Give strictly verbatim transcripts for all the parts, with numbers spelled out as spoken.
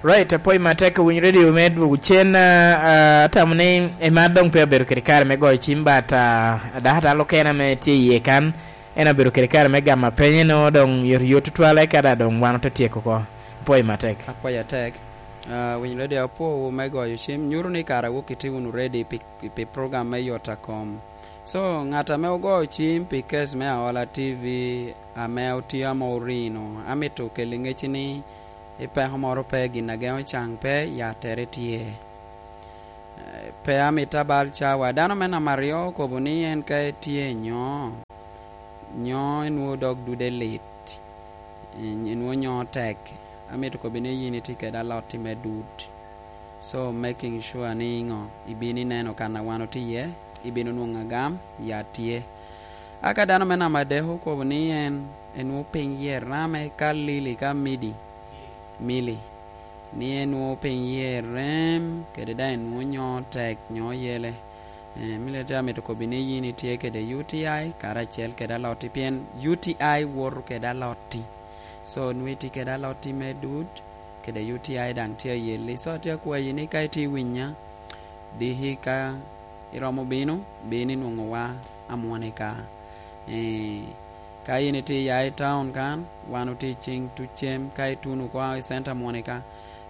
Right, apwoyo matek owiny radio me dwogo cen, ah, ah, atamo ni emar doŋ pe obedo kede kare me goyo cim, but, ah, dako atal okene ame tye iye kan, en obedo kede kare me gamo apenye, no doŋ yot yot tutwale, ka da doŋ wan ote tyeko oko. Apwoyo matek. Apwoyo atek. Ah, winyo radio apwowu me goyo cim, nyuto ni kara wok itye wunu ready pi, pi program me yot a kom. So, ŋat ame ogoyo cim pi kes me Aola T V ame otye ame orino, amito keli ŋecci ni i peko moro pe, gin a geŋo caŋ pe, yattere tye. Eh, pe amito abal cawa. Dano me namba aryo okobo ni en ka etye nyo, nyo enwoŋo dog dude lit, en-, enwoŋo nyo tek. Amito kobbi ni yin itye kede alotti me dud. So, making sure ni ŋo, ibino ineno kan a wan otye iye, ibino nwoŋo agam, ya tye. A ka dano me namba adek okobo ni en, enwoŋo piny yie rame ka lili ka midi, mili, ni enwoŋo piny yie rem, kede daŋ enwoŋo nyo tek, nyo yele. Eh, mili te amito kobbi ni yin itye kede U T I karacel kede alotti, pien U T I woto kede alotti. So, nwoŋo itye kede alotti me dud, kede U T I daŋ tye ayelli. So, atye akwayi ni ka itye winya, diki ka iromo bino, bin inwoŋo wa amwonika. Eh, ka in itye ya i town kan, wan otye i cing tucem, ka ituno oko i center mwonika,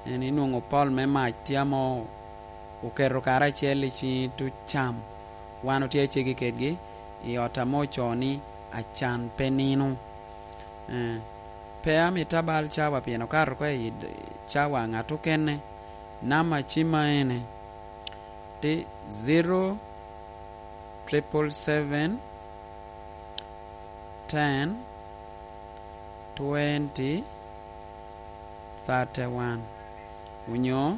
en inwoŋo pol me mac tye amo oketo karacel i ciŋi tucam. Wan otye acegi kedgi i ot ame ocoo ni Acan pe nino. Eh, pe amito abal cawa pien okato oko i d-, cawa ŋat okene. Namba cimma ene, ti zero triple seven, ten, twenty, thirty-one, onyo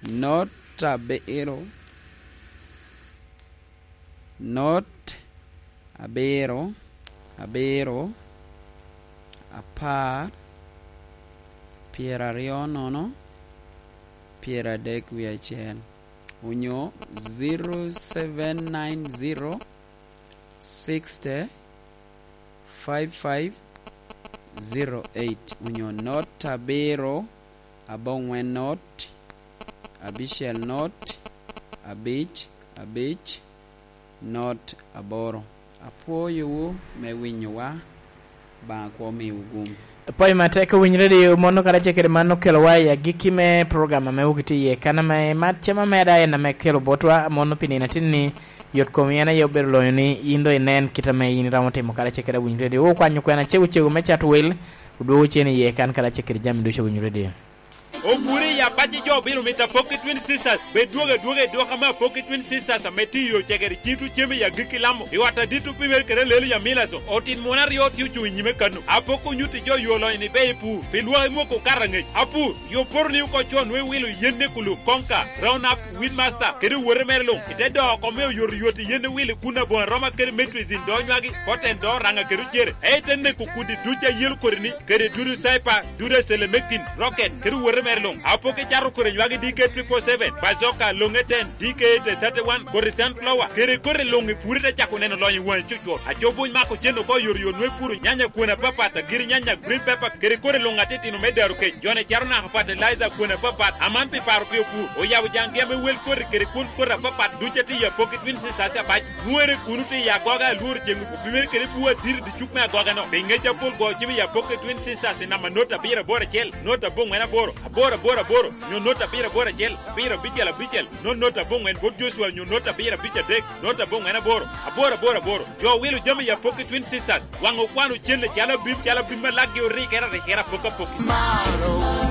not abiro, not abiro, abiro, apar, pyeraryo nono, pyeradek wie acel, onyo zero seven nine zero, sixty, five five zero eight, onyo not abiro, aboŋwen not, abicel not, abic, abic, not aboro. Apwoyowu me winyowa. Baŋa kwo miwu gum. Pwoyo matek owiny radio, mono karacel kede man okelowa i agikki me program ame wok itye iye. Kan ame mat cem ameda en ame kelo botwa, mono pi nino atin-ni, yot komi en aye obedo lonyo ni yin doŋ inen kit ame yin iromo timo karacel kede awiny radio. Okwanyo kwena cego cego me cato wel, odwogo cen iye kan karacel kede jami ducu awiny radio. Opwod i apac i jo obilo mito Apoki Twin Sisters. Bed dwogo adwoga i dwok ame Apoki Twin Sisters ame tye i Ocegere, cito cem i agikki Lamo, i ot adit opimere kede Lelu i Amilaso. Otin muno aryo tye ocuŋ i nyime kano. Apoki onyutti jo yo lonyo ni be i pur, pi lwak i mwoko okato aŋec. Apur, yo poto ni oko con nwe wilo yen ne kulu, konka, round up, weed master, kede owote mere luŋ. I te doko oko me oyoto yot i yen ne wilo i kun aboŋo aroma kede metrizin do nywagi, poten do raŋa kede ocere. Ei te neko kudi duc a yelo kodi ni, kede dudu caipa, dudu acelemekin, rocket, kede owote mere luŋ. Apoki cato kore nywagi D K triple seven, bazooka, loŋe ten, D K eight thirty-one, kore sunflower, kede kore luŋ i pure te cako neno lonyo i waŋe cucur. Aco buny mako cen oko yoryot nwe puro nyanya kwene apapat, agiri nyanya, green pepper, kede kore luŋ atitino me daro kec. Jone cato naka fertilizer kwene apapat, aman pi paro pi opur. Oyabo jaŋgi ame wel koti kede kwon koti apapat duc atye i Apoki Twin Sisters apac. Nwere kuno tye i agoga alworo ceŋ opimere kede bur adit i dicuk me agoga-no. Pi ŋec apol go cibo i Apoki Twin Sisters i namba not abiro aboro acel, not aboŋwen aboro, aboro aboro aboro, nyo not abiro aboro acel, abiro abicel abicel, not not aboŋwen bot Joshua nyo not abiro abic adek, not aboŋwen aboro, aboro aboro aboro. Jo wilo jami i Apoki Twin Sisters, waŋ okwano cen acalo abim, calo abim ma lakgi orikere arikere apoki apoki.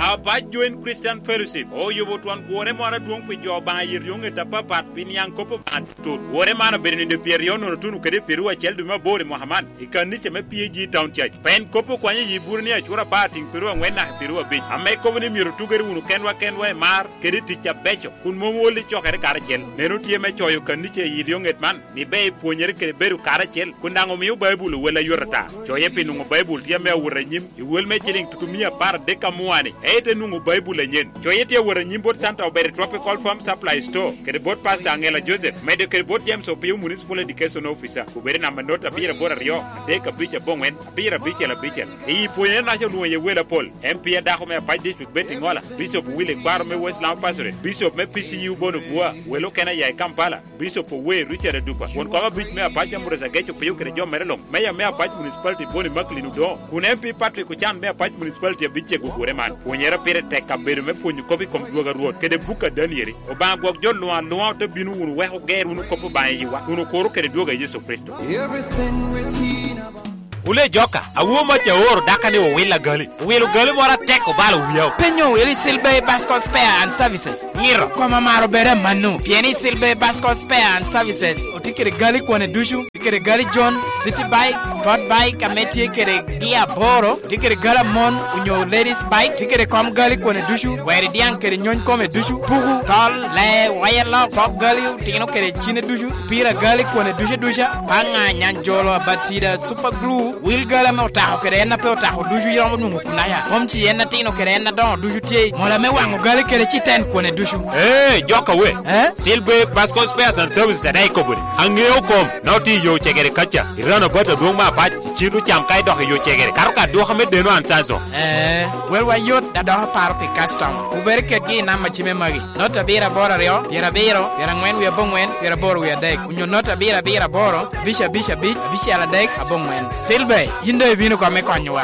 Apac Joint Christian Fellowship oyubo twon kworre moro adwoŋ pi jo Obaŋa i ryoŋet apapat pi niaŋ kop Obaŋa tut. Kworre man obedo nino pyeraryo nono tuno kede pyeraryo acel dwe me aboro i mwaka man i kanica me P A G Town Church. Pien kop okwanyo i yi buro ni acura apar tiŋ pyeraryo aŋwen naka pyeraryo abic, ame kobo ni myero otugere wunu kenwa kenwa i mar kede i tic abeco, kun mom wol i cokere karacel. Meno tye me coyo kanica i ryoŋet man. Ni ber ipwonyere kede bedo karacel, kun daŋ omio Baibul owel ayot ata. Coye pi nwoŋo Baibul tye ame awot anyim i wel me ciliŋ tutumia apar adek amua-ni. ite nwoŋo Baibul anyen. Coye tye awot anyim bot Santa Obere Tropical Farm Supply Store, kede bot Pastor Angela Joseph, medo kede bot James Opio Municipal Education Officer, obed i namba not abiro aboro aryo, adek abic aboŋwen, abiro abicel abicel. I pwonyere naca olwoŋo iye wel apol, M P a dako me Apac District Betty Ngola, Bishop Willie Kwaro me West Lamu Pastorate, Bishop me P C U Bono Bua, wel okene aya i Kampala, Bishop Owe Richard Adupa, won kom abic me Apac Ambrose Ageco Piyo kede jo mere luŋ, Mayor me Apac Municipality Boni Macklin Odoŋo, kun M P Patrick Ocan me Apac Municipality abic cego ogure man. Pwonyere pire tek kabedo me pwonyo kop i kom dwogo a Rwot kede buk a Danieli. Obaŋa gwok jo luŋ aluŋa, ote bino wunu wek oger wunu kop Obaŋa i yiwa, kun okuro kede dwogo a Yecu Kricito. Everything written about Wule joka, awo mac aoro daka ni owil agali. Owilo gali moro atek obalo wiya. Penyo owil i Silbey Bascom Spare and Services. Ngiro. Koma maro bere manu, pien i Silbey Bascom Spare and Services otye kede gali kwane ducu, tye kede gali John, City Bike, Sport Bike, ame tye kede gia aboro, tye kede gali amon, onyo ladies bike, tye kede kom gali kwane ducu, weri diaŋ kede nyony kome ducu, puku, tol, lee, waya lok, pok gali, otino kede cine ducu, pira gali kwane ducu duca, paŋa, nyanjolo, abatida, super glue, wil gali ame otako kede en a pe otako ducu iromo nwoŋo kunaya, kom ci en atino kede en adoŋo ducu tye, mola me waŋo gali kede citen kwane ducu. Ee, joka we. Eh? Silbe Pasco Spares and Services adaŋ ikobo ni, aŋeo kom, na otye i yo cegere kaca, i rano bat adwoŋ me Apac, icito cam ka idok i yo cegere, kato ka adwoka me deno an Sanso. Eh, wel wa yot, adok aparo pi customer. Wubere kedgi i namba cime magi. Not abiro aboro aryo, pyerabiro, pyeraŋwen wie aboŋwen, pyeraboro wie adek, onyo not abiro abiro aboro, abic abic abic, abicel adek, aboŋwen. Silver, yin doŋ ibino kome konyowa.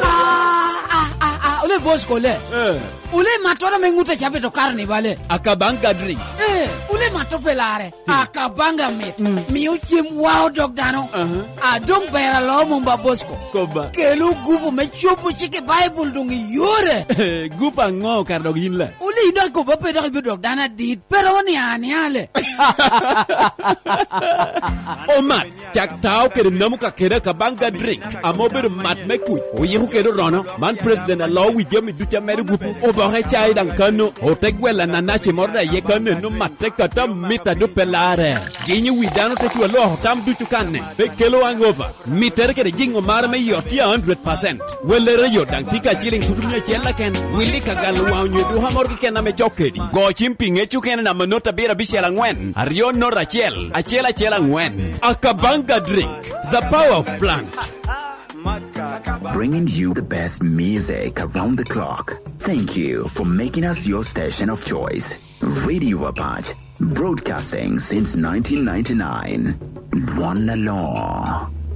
Ah, ah, ah, ah, ole boss kole. Eh. Ole matoro me ŋut a cabe to karo ni bale. Akabanga drink. Eh, ole mato pe lare. Akabanga mit. Mm. Mio cem wa odok dano. Aha. A doŋ ber alo mumba Bosco. Koba. Kelo gupu me cobo cik i Baibul doŋ i yore. Gupu aŋo kara dok yin la? Wuli ino akobo pe dok ibiro dok dano adit. Pero ni an yale. Omat, cak tao kede namu ka kede Akabanga drink. Ame obedo mat me kuc. Oyiko kede orono. Man president alo wi jami duca medo gupu. Oboke cai daŋ kano. Ote gwela nanaci moro da ye kano eno matte kata mita dupe lare. Ginyo wi dano te cwa loko tam ducu kanne, pe kelo hangover. Mittere kede jiŋo mare me yot tye a hundred percent. Wellere yot daŋ tye ka ciliŋ tutu mia acel aken. Willi ka galo waŋ onyo duka moro keken ame cok kedi. Go cim pi ŋec okene namba not abiro abicel aŋwen, aryo not acel, acel acel aŋwen. Akabanga drink, the power of plant. Bringing you the best music around the clock. Thank you for making us your station of choice. Radio Apache, broadcasting since nineteen ninety-nine. One alone.